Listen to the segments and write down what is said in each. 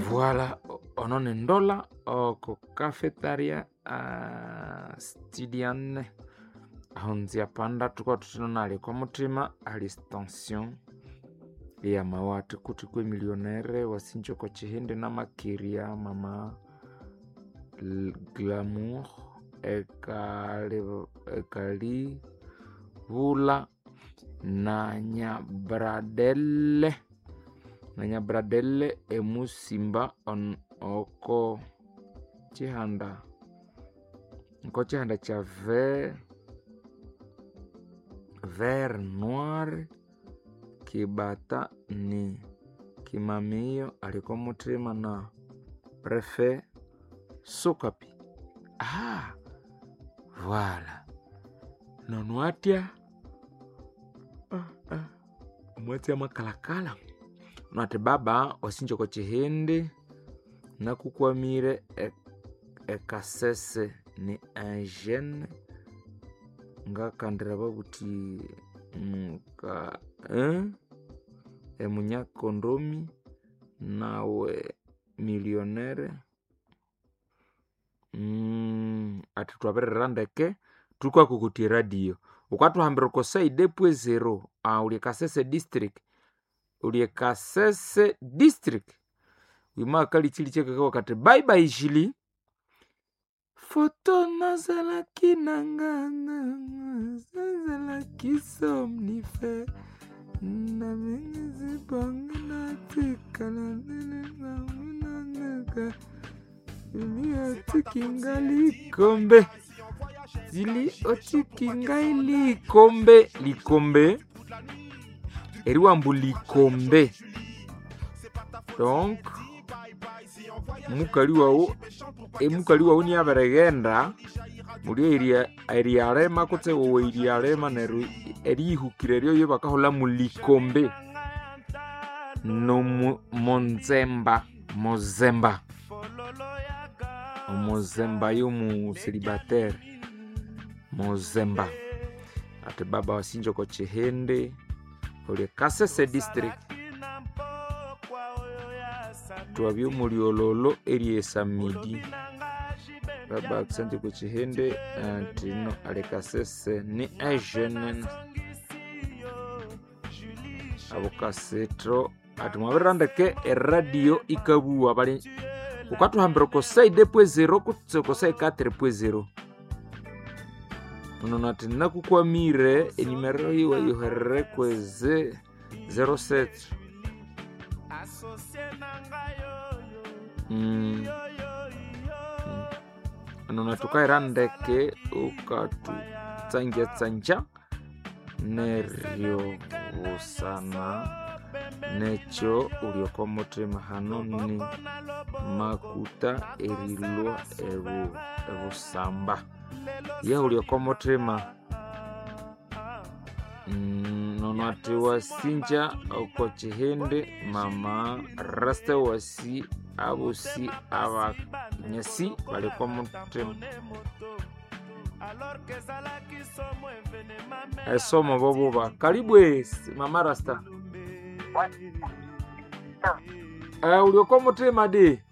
Voilà, ono ni ndola oko cafetaria Stidiane aho nziapanda thuka thuthino nali oko muthima ali stansion eyamawatha kuthi kwemillionaire wasinja oko kihindi namakerya mama Glamour ekalibulha nanyabradele emusimba oko kihanda kya ver noir kibata ni kimamiyo ali okomuthima na prefe Sokapi. Voilà nono atya omwatsi amakalakala nathi baba wasinja oko kihindi nakukwamire ekasese ni engine ngakandira babuthi emunyakondomi nawe millionaire athi thwabirira ndeke thukakokotya eradio wukathuhambira oko side pwe zero uli e Kasese district uli e Kasese district wimakalikyilikyakakawa kathi bye bye Julie foto nazalaki nanga nazalaki somnifere otikinga likombe zili otikinga likombe likombe eriwambu likombe donc mukali wawu emukali wawu niabirighenda muli erialema kutse wowe erialema neryo eriyihukira eryo bakaholha mulikombe nomonzemba mozemba omozemba yomuselibatere mozemba ati baba wasinja oko kihindi oli Kasese district twabya omulyololo eryesamidi baba akusanti ku kihindi atino ali Kasese ni ejene abo kasitro ati mwabirira ndeke eradio ikabuwa bali wukathuhambira oko side pwe zero kutse oko side 4 pwe zero nono ati nakukwamire enimero yiwe yuherere kweze 07 nono thukaira ndeke ukathutsangyatsangya neryo busana nekyo uli oko muthima hano ni makuta erilwa ebusamba ye uli oko muthima nono athi wasinja oko kihindi mama rasta wasi abosi abanyasi bali oko muthima esomo bobuba kalibwe mama rasta uli oko muthima di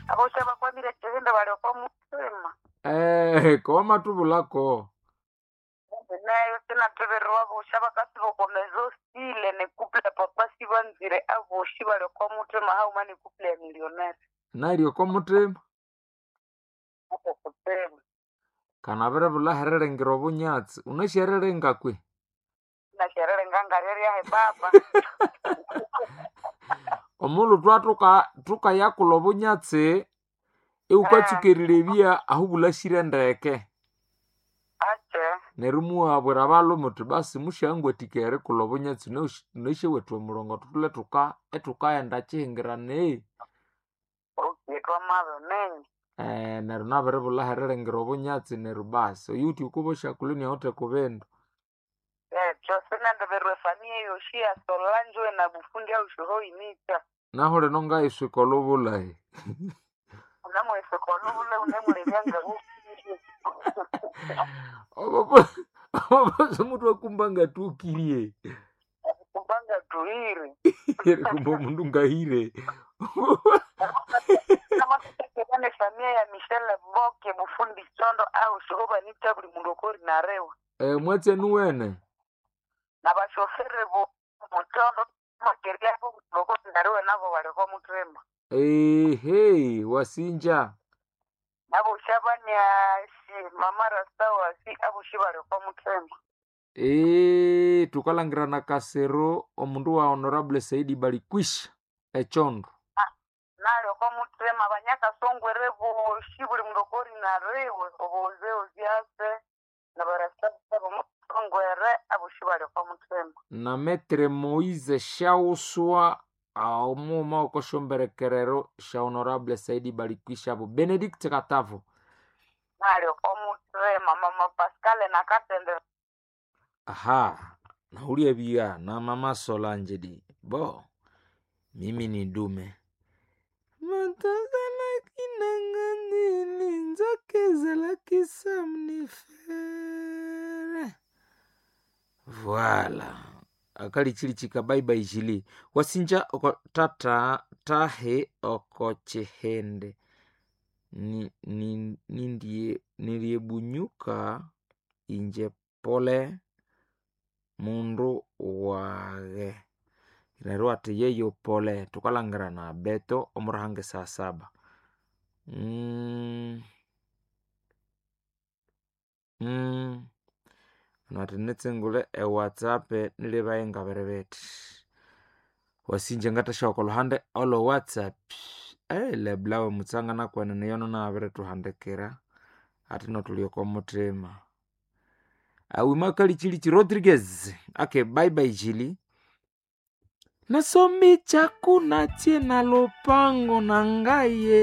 Abosha bakwamire kihindi bali oko muthima kowamatubulako nayo sinathobererwa abosha bakasiba oko mezo sile nekupula papa sibanzire aboshi bali oko muthima hauma nekupula ya millionaire nali oko muthima oko kuthima kanabiribulha heriringira obunyatsi unashyeriringa kwe nashererenga ngareryahe baba omulhu thukayakula obunyatsi iwukatsuka ahu bulhasire ndeke ache neryo muwabwira abalhume uthi basi musyangwathikaya erikulha obunyatsi nasyawethu omurongo thutholhe ithukaghenda kihingirana okay twamabimenya neryo nabiribulha heriringira obunyatsi neryo basi oyuthi wukuba osyakulha iniawithe kubindu ekyo sinendoberwa efamiya yoshi ya Solange na bufundi aushuhoimita nahu lino ngayiswika olhubulhahi unamweseka olubule unemulebya ngabufundie obobosi omutu akumba ngatukirie kumbanga tuire erikumba omundu ngahire Namathuthekera nefamiya ya Michelle Boke bufundi chondo au shohoba nita buli mundu okori narewa. Mwatse nuwene. Nabashofere bo muchondo makeria bo okori narewa nabo baliko muthema. Ehe, wasinja. Nabo shabanyasi mama rasta wasi abo shibaliko muthema. Tukalangira na Kasero omundu wa Honorable Saidi Balikwisha echondo. Nalio kwa muthema banyakasongwere boshi buli mundu okori narewe oboze ozyase nabarasta bo musongwere abo shibaliko muthema. Na Metre Moise Shauswa omuma okoshomberekerero sha Honorable Saidi Balikwisha abo Benedict Katavo. Nalio kwa muthema mama Pascal nakatende. Aha, naulia bia na mama Solange di bo, mimi ni dume. Matazalaki nanganili nzoke zalaki samnifere. Voila. Akali chili chika bye bye jili. Wasinja oko tata tahe oko chihende. Ni, ni, nindie niliebunyuka inje pole mundu wage neryo ati yeyo pole tukalangira na beto omurahange saa saba. Nati nitsingule ewhatsapp nilibaye ngabere bithi wasinja ngathasyawa oko luhande olwe whatsapp. Leblawe mutsanga nakwenene yono nabirituhandikira ati notuli oko muthima. Awima kalichilichi Rodriguez. Okay, bye bye Jili. Nasomi chakuna tie na lopango na ngaye.